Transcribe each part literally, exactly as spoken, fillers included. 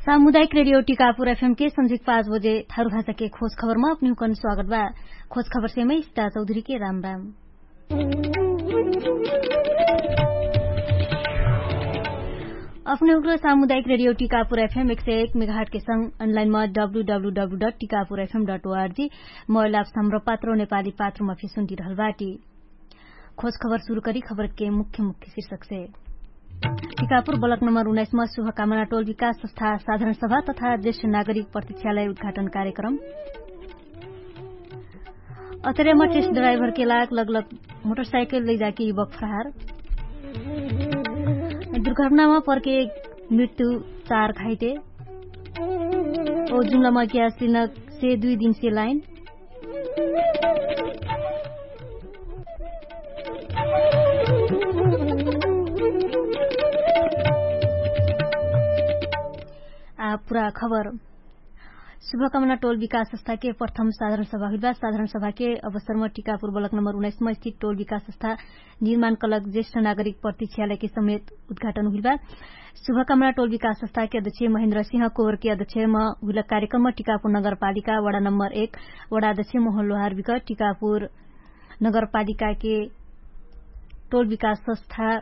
सामुदायिक रेडियो टिकापुर एफएम के संझिक पाँच बजे थारु भाषा के खोज खबरमा अपनिहुकन स्वागत बा। खोज खबर सेमै स्थिता चौधरी के राम राम। अपनिहुकन सामुदायिक रेडियो टिकापुर एफएम एक सय एक मेगाहट के संग अनलाइनमा W W W dot Tikapur FM dot ORG mobile apps Hamro Patro नेपाली पात्रोमा फिसुन्टी रहल बाटी। खोज खबर सुरु करी खबर के मुख्य मुख्य शीर्षक से। टिकापुर बलक नम्बर उन्नाइसमा शुभकामना टोल विकास संस्था साधारण सभा तथा ज्येष्ठ नागरिक प्रतीक्षालय उद्घाटन कार्यक्रम। अतरेमा टेस्ट ड्राइभर के लाग लगलग मोटरसाइकल लैजाके युवक फरहार। दुर्घटनामा पर्के मृत्यु चार खाइटे। ओ जुम्लामा ग्यास लिनक से दुई दिन से लाइन। आ पुरा खबर। शुभकामना टोल विकास संस्था के प्रथम साधारण सभा हुइल बा। साधारण सभा के अवसरमा टिकापुर बलक नम्बर उन्नाइसमा स्थित टोल विकास संस्था निर्माण कलक ज्येष्ठ नागरिक प्रतीक्षालय के समेत उद्घाटन हुइल बा। शुभकामना टोल विकास संस्था के अध्यक्ष महेन्द्र सिंह कोवर के अध्यक्षमा हुइल कार्यक्रममा टिकापुर नगरपालिका वडा नम्बर एक वडा अध्यक्ष मोहन लोहार बिक टिकापुर नगरपालिका के टोल विकास संस्था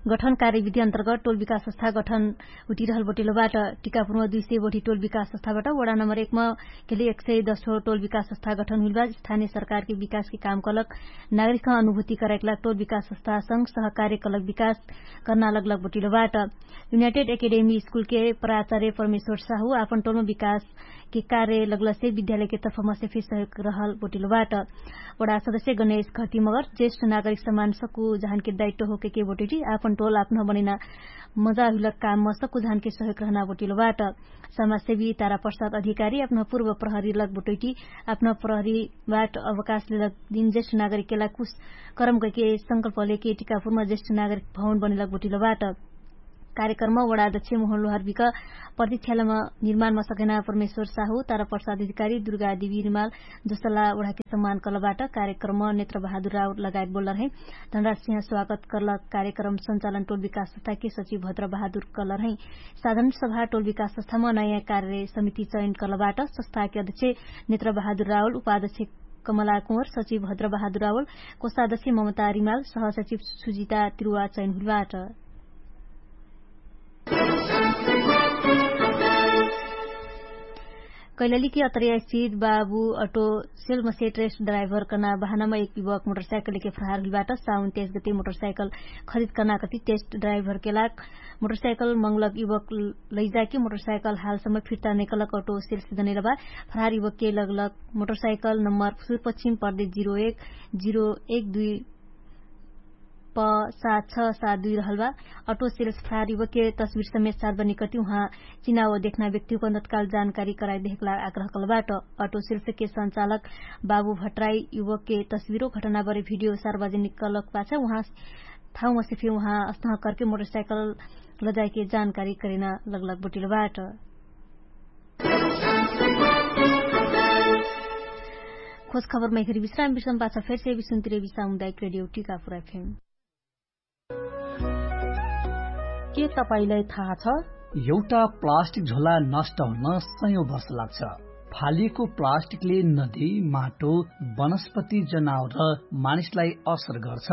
गठन कार्यविधि अन्तर्गत टोल विकास संस्था गठन हुटिरहल बटिलो बाट। टिकापुरमा दुई सय बठी टोल विकास संस्था बाट वडा नम्बर एकमा केले एक सय दस टोल विकास संस्था गठन हुइल बा। स्थानीय सरकार के विकास के काम कलक नागरिक अनुभूति कराइकला टोल विकास संस्था संग सहकार्य कलक विकास कर्ना लगलक बटिलो बाट। युनाइटेड एकेडेमी स्कुल के प्राचार्य परमेश्वर साहु आपन टोलमा विकास के कार्य लगलसे विद्यालय के तर्फमा से फिर सहयोग रहल बटिलो बाट। वडा सदस्य गणेश घटी मगर ज्येष्ठ नागरिक समान सक्कु जहान के दायित्व होके के बटिटी आपन टोल आपन बनैना मजा हुइलक काम म सक्कु जहान के सहयोग रहना बटिलो बाट। समाजसेवी तारा प्रसाद अधिकारी अपना पूर्व प्रहरी लग बटोइटी अपना प्रहरी बाट अवकाश लेलक दिन ज्येष्ठ नागरिक केला कुछ करम कैके संकल्प लेके टिकापुरमा ज्येष्ठ नागरिक भवन बनेलक बटिलो बाट। कार्यक्रममा वडा अध्यक्ष मोहन लोहर बिक प्रतीक्षालयमा निर्माणमा सकेना परमेश्वर साहु तारा प्रसाद अधिकारी दुर्गा देवी रिमाल जसला वडाके सम्मान कलबाट। कार्यक्रममा नेत्र बहादुर राउर लगायत बोलर है धनराज सिंह स्वागत करलक। कार्यक्रम सञ्चालन टोल विकास संस्था के सचिव भद्र बहादुर कलर है। साधारण सभा टोल विकास संस्थामा नयाँ कार्य समिति चयन कलबाट संस्थाके अध्यक्ष नेत्र बहादुर रावल उपाध्यक्ष कमला कुँवर सचिव भद्र बहादुर रावल कोषाध्यक्ष ममता रिमाल सहसचिव सुजिता तिरुवा चयन हुलबाट। कैलालीके अतरिया स्थित बाबु अटो सेल्मसे ट्रेस्ट ड्राइभर कना बहानामा एक युवक मोटरसाइकल लेके फरहार हुइलबाट। साउन तेइस गते मोटरसाइकल खरिद कना कति टेस्ट ड्राइभर केलाक मोटरसाइकल मंगलक युवक लैजाके मोटरसाइकल हालसम्म फिर्ता नैकलक अटो सेल्स जनैलबा। फरहार युवक के लगलक मोटरसाइकल नम्बर सुरपश्चिम पर्दे जिरो एक जिरो एक दुई प सात छ सात दुई रहलबा। अटो सेल्स फरहार युवक के तस्वीर समेत सार्वजनिक कति उहाँ चिनाव देखना व्यक्तिको नतकाल जानकारी कराइ देहकला आग्रह कलबाट। अटो सेल्स के सञ्चालक बाबु भट्राई युवक के तस्वीरो घटना बरे भिडियो सार्वजनिक कलक पाछ उहाँ थाउमा से फिर उहाँ अस्तह करके मोटरसाइकल लजाइके जानकारी करेना लगलक बटिलबाट। खोज खबरमा एखरी विश्राम विश्राम पाछ फेरसे विश्राम तिरेबी सामुदायिक रेडियो टिकापुर एफएम। के तपाईंलाई थाहा छ? एउटा प्लास्टिक झोला नष्ट हुन सयौं वर्ष लाग्छ। फालिएको प्लास्टिकले नदी, माटो, वनस्पति, जनावर र मानिसलाई असर गर्छ।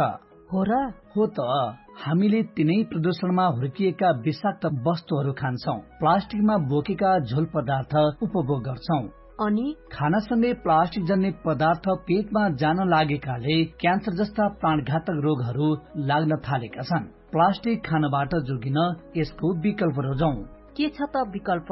हो र? हो त। हामीले तिनै प्रदूषणमा हुर्किएका विषाक्त वस्तुहरू खान्छौं, प्लास्टिकमा बोकेका झोल पदार्थ उपभोग गर्छौं। अनि खानासँगै प्लास्टिक जन्ने पदार्थ पेटमा जान लागेकाले क्यान्सर जस्ता प्राणघातक रोगहरू लाग्न थालेका छन्। प्लास्टिक खानबाट जोगिन यसको विकल्प रोजौं। के छ त विकल्प?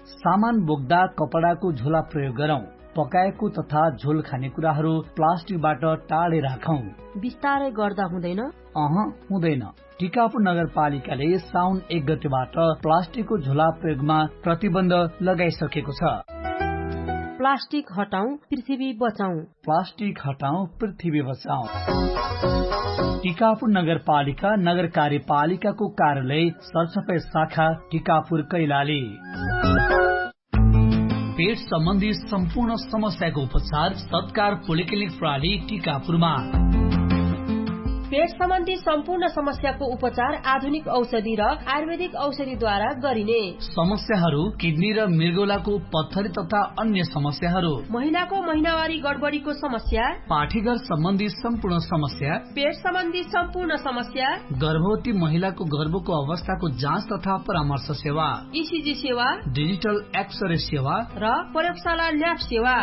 सामान बोक्दा कपडाको झोला प्रयोग गरौं। पकाएको तथा झोल खाने कुराहरू प्लास्टिकबाट टाढे राखौं। बिस्तारै गर्दा हुँदैन? अह, हुँदैन। टिकापुर नगरपालिकाले साउन एक गतेबाट प्लास्टिकको झोला प्रयोगमा प्रतिबन्ध लगाइसकेको छ। प्लास्टिक हटाउँ, पृथ्वी बचाउँ। प्लास्टिक हटाउँ, पृथ्वी बचाउँ। टिकापुर नगरपालिका, नगर कार्यपालिकाको कार्यालय, सरसफाई शाखा, टिकापुर, कैलाली। पेट सम्बन्धी सम्पूर्ण समस्याको उपचार सत्कार पोलिक्लिनिक प्रणाली टिकापुरमा। पेट सम्बन्धी सम्पूर्ण समस्याको उपचार आधुनिक औषधि र आयुर्वेदिक औषधिद्वारा गरिने। समस्याहरू किडनी र मृगौलाको पत्थरी तथा अन्य समस्याहरू, महिलाको महिनावारी गडबडीको समस्या, पाठीघर सम्बन्धी सम्पूर्ण समस्या, पेट सम्बन्धी सम्पूर्ण समस्या, गर्भवती महिलाको गर्भको अवस्थाको जाँच तथा परामर्श सेवा, इसिजी सेवा, डिजिटल एक्सरे सेवा र प्रयोगशाला ल्याब सेवा।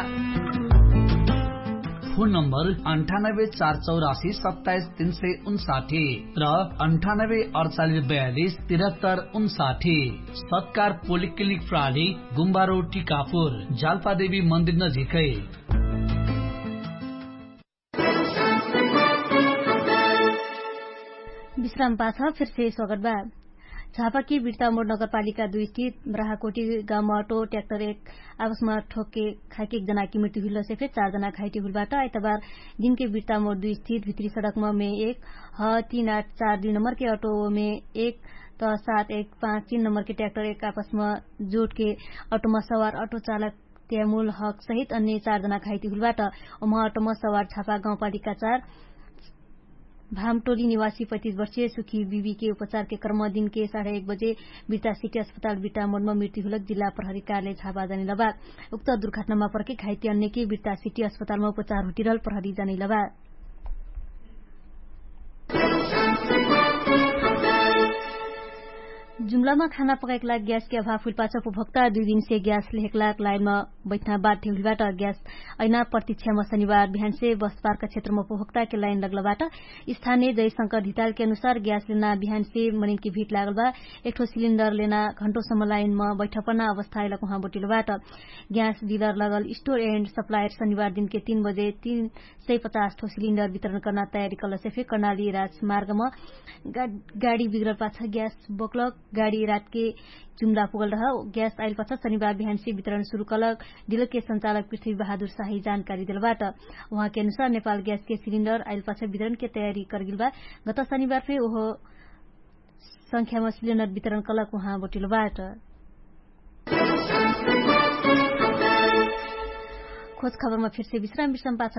फोन नम्बर अन्ठानब्बे चार चौरासी सत्ताइस तीन सय उन्साठी र अन्ठानब्बे अडचालिस बयालिस तिरहत्तर उन्साठी। सत्कार पोलिक्लिनिक प्राली, गुम्बारो टिकापुर, जाल्पादेवी मन्दिर नजिकै। विश्राम पाछ फिर्से स्वागत बा। झापाकी बिर्तामोड नगरपालिका दुई स्थित ब्राहाकोटी गाउँमा अटो ट्याक्टर एक आपसमा ठोक्के खाइके एक जनाकी मृत्यु हुइलसे फेर चार जना घाइटी हुइलबाट आइतबार दिनके बिर्तामोड दुई स्थित भित्री सडकमा मे एक ह तीन आठ चार दुई नम्बरके अटो मे एक त सात एक पाँच तीन नम्बरके ट्याक्टर एक आपसमा जोटके अटोमा सवार अटो चालक त्यामुल हक सहित अन्य चार जना घाइटी हुइलबाट। ओमा अटोमा सवार झापा गाउँपालिका चार भामटोली निवासी पैतिस वर्षीय सुखी बिबीके उपचारके क्रम दिनके साढे एक बजे बिर्ता सिटी अस्पताल बिर्ता मोडमा मृत्यु हुलक जिल्ला प्रहरी कार्यालय झापा जानिलबा। उक्त दुर्घटनामा पर्के घाइते अन्यके बिर्ता सिटी अस्पतालमा उपचार हुटिरहल प्रहरी जानिलबा। जुम्लामा खाना पकाइक लाग ग्यासके अभाव हुइलपाछ उपभोक्ता दुई दिनसे ग्यास लेहेक लाग लाइनमा बैठना बाध्य हुइलबाट। ग्यास अइना प्रतीक्षामा शनिबार बिहानसे बसपार्क क्षेत्रमा उपभोक्ताके लाइन लग्लबाट। स्थानीय जयशंकर धितालके अनुसार ग्यास लेना बिहानसे मनिनके भिट लागलबा। एकठो सिलिन्डर लेना घण्टोसम्म लाइनमा बैठपना अवस्था अइलक उहाँ बोटिलबाट। ग्यास डिलर लगल स्टोर एन्ड सप्लायर शनिबार दिनके तीन बजे तीन सय पचास ठो सिलिन्डर वितरण कर्ना तयारी कलसे फे कर्णाली राजमार्गमा गाडी बिग्रल पाछ ग्यास बोक्लक गाडी रातके जुम्ला पुगल रह। ग्यास आइल पाछ शनिबार बिहानसे वितरण सुरु कलक डिलरके सञ्चालक पृथ्वी बहादुर साही जानकारी देलबाट। उहाँके अनुसार नेपाल ग्यासके सिलिन्डर आइल पाछ वितरणके तयारी करगिलबा। गत शनिबार फे ओहो संख्यामा सिलिन्डर वितरण कलक उहाँ बोटिलबाट। खोज खबरमा फिर्से विश्राम विश्राम पाछ।